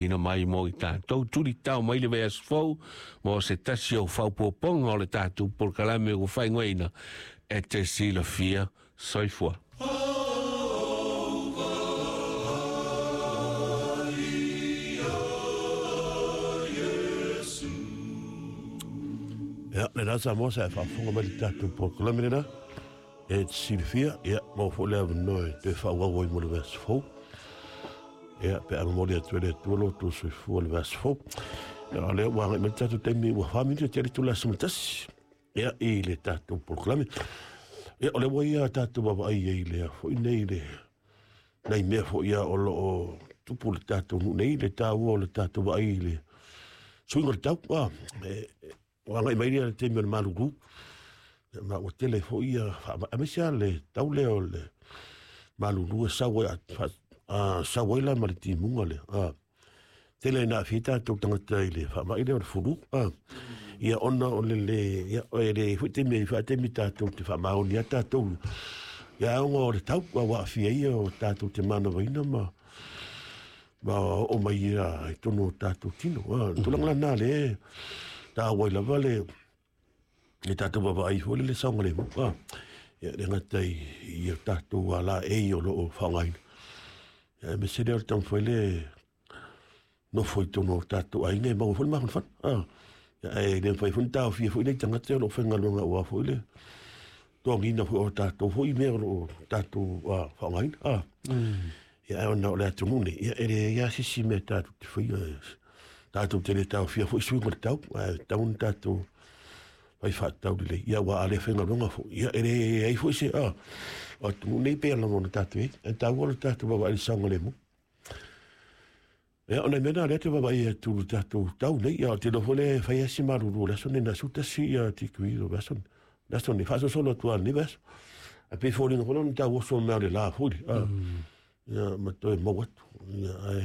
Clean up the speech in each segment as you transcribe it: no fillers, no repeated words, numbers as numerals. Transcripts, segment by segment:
Ina mai mo i tatou tuli tao mai le vaiaso fou mo se tasi o faaopoopoga o le tatou polokalame ua faaigoaina e te silafia. Soifua. Ia, lena Samoa sa e faafofoga mai le tatou polokalame lena e te silafia, ia, maua foi le avanoa e toe faaauau ai mo le vaiaso fou. Ia, pe a momoli atu e le Atua lo outou soifua le vaiaso fou. Ia, o lea ua agai mai le tatou taimi ua 4 minute tea le itula 11, ia, i le tatou polokalame. Ia, o lea ua ia tatou vaavaai ai i le foi nei le nai mea foi ia o lo o tupu le tatou nuu nei, le taua o le tatou vaai i le suiga o le tau. Ah, ua agai mai le taimi o le malulu. Ia, ma ua tele foi ia aemaise lava le tau lea o le malulu e sau ai, sau ai la ma le timuga lea. Tele ina aafia ai tatou tagata i le faamai lea o le fulu. Ia ona o le le, ia, e le foi taimi e faataimi tatou te faamaoni ai tatou. Ia ona o le tau ua aafia ai o tatou te manavaina ma oo mai ia i totonu o tatou tino. Tulaga lena le taua ai lava le tatou vaavaai foi le saogalemu. Ia le gata i o tatou alaei o lo o faaaogaina. Ia aemaise lea o le taumafai le nofo i totonu o tatou aiga e maua foi le mafanafana. Ia, ae le mafai foi ona taofia foi nei tagata o lo o faigaluega aua foi le togiina foi o tatou foi mea o lo o tatou faaaogaina. Ia, ae ona o le atunuu nei, ia, e leai lava se isi mea tatou te faia. Tatou te le taofia foi suiga o le tau, ae tatau ona tatou fai faatatau lelei. Ia, aua a le faigaluega foi, ia, e leai foi se o atunuu nei pei lava ona tatou i ai. Ae taua le tatou vaavaai i le saogalemu. Ia, o nai mea na lea te vaavaai atu i le tatou tau nei. Ia, ou te iloa foi lea e fai lava si malulu o le aso nei, na 11 ia tikui o le aso nei. Le aso nei, faasolosolo atu lava i lenei vaiaso. Ae pei e foliga foi lea ona tau oso mai o le la foi. Ia, ma toe mau atu. Ia, ae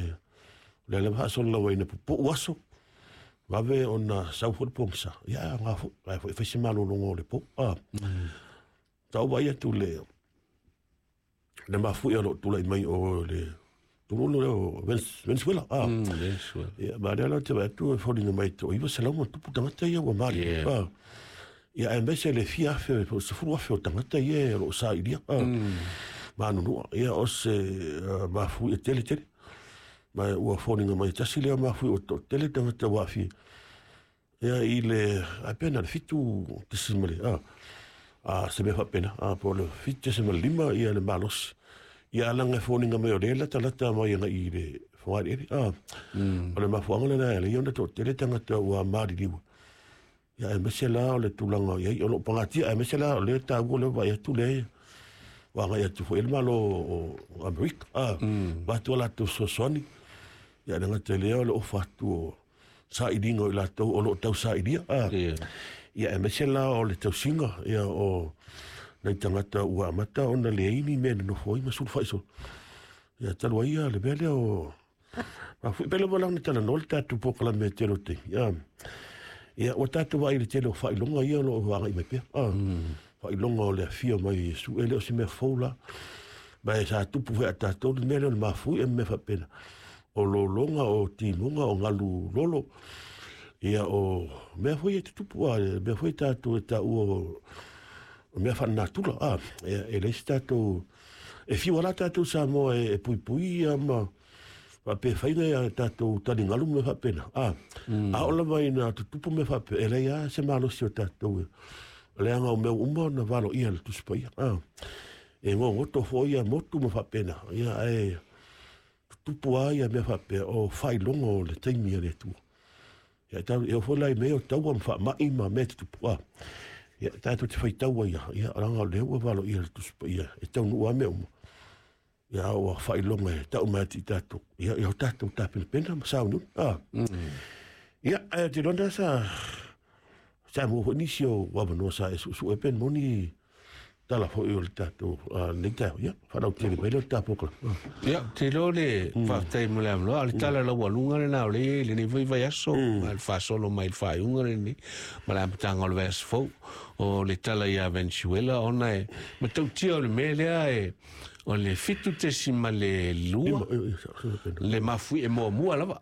o lea lava faasolo lava ina pupuu aso, vave ona sau foi le pogisa. Ia, ae aoga foi, ae foi e fai se malologa o le po. Sa ou vaai atu le mafuie o lo o tulai mai o le tuluno lea o Venezuela. Venezuela. Ia, ma lea la te vaai atu e foliga mai to 900 ma tupu tagata ia ua mali. Ia, aemaise le fia afe, po o 10,000 o tagata ia o lo o sailia. Manunua. Ia, o se mafuie tele tele. Ma ua foliga mai tasi lea mafuie o to tele tagata ua aafia. Ia, i le, ai pe na le 7 tesimale, se mea faapena, po o le 7.5 ia le malosi. Ia, alaga e foliga mai o lea latalata mai agai i le fogaeleele. O le mafuaaga lena e ala ai ona toatele tagata ua maliliu. Ia, aemaise la o le tulaga i ai, o lo o pagatia, aemaise la o lea taua lea vaai atu lea ua agai atu foi le Malo o Amerika. Avatu a latou fesoasoani. Ia, le gata i lea o le ofa atu o sailiga o i latou o lo o tau sailia. Ia, aemaise la o le tausiga, ia, o nai tagata ua amata ona leai ni mea e nonofo ai ma sulufai solo. Ia, talu ai ia le mea lea o mafuie. Pe lava la ona talanoa le tatou polokalame tele o taimi. Ia, ua tatou vaai i le tele o faailoga ia o lo o agai mai pea. Faailoga o le afio mai o Iesu, e le o se mea fou la. Ma e sa tupu foi a tatou le mea lea o le mafuie ma mea faapena. O lologa, o timuga, o galu lolo, ia, o mea foi e tutupu, mea foi tatou e taua o mea faalenatura. Ia, e leai se tatou, e fiu lava tatou Samoa e puipui ia ma faapea faiga ia tatou taligalu ma mea faapena. A oo lava ina tutupu mea faapea, e leai lava se malosi o tatou, leaga o mea uma ona valoia e le Tusi Paia. E gogoto foi ia motu ma faapena, ia, ae tutupu lava ia mea faapea o faailoga o le taimi a le Atua. Ia, tau, e oo foi la i mea o taua ma faamai ma mea tutupu. Ia, tatou te faitau ai lava, ia, leaga o lea ua valoia e le Tusi Paia, e taunuu lava mea uma. Ia, ua faailoga e tau mai atu i tatou, ia, ia o tatou tapenapena ma sauniuni. Ia, ae ou te iloa sa maua foi nisi o avanoa sa e suesue pe moni tala foi o le tatou lenei taeao. Ia, faalautele mai lea o le tatou polokalame. Ia, te iloa le faafetai mo le avanoa, o le tala laualuga lena o lea e i ai lenei foi vaiaso, ma le faasolo mai le faaiuga lenei, ma le amataga o le vaiaso fou, o le tala ia Venezuela, ona e matautia o le mea lea e O le 7.2 le mafuie muamua lava.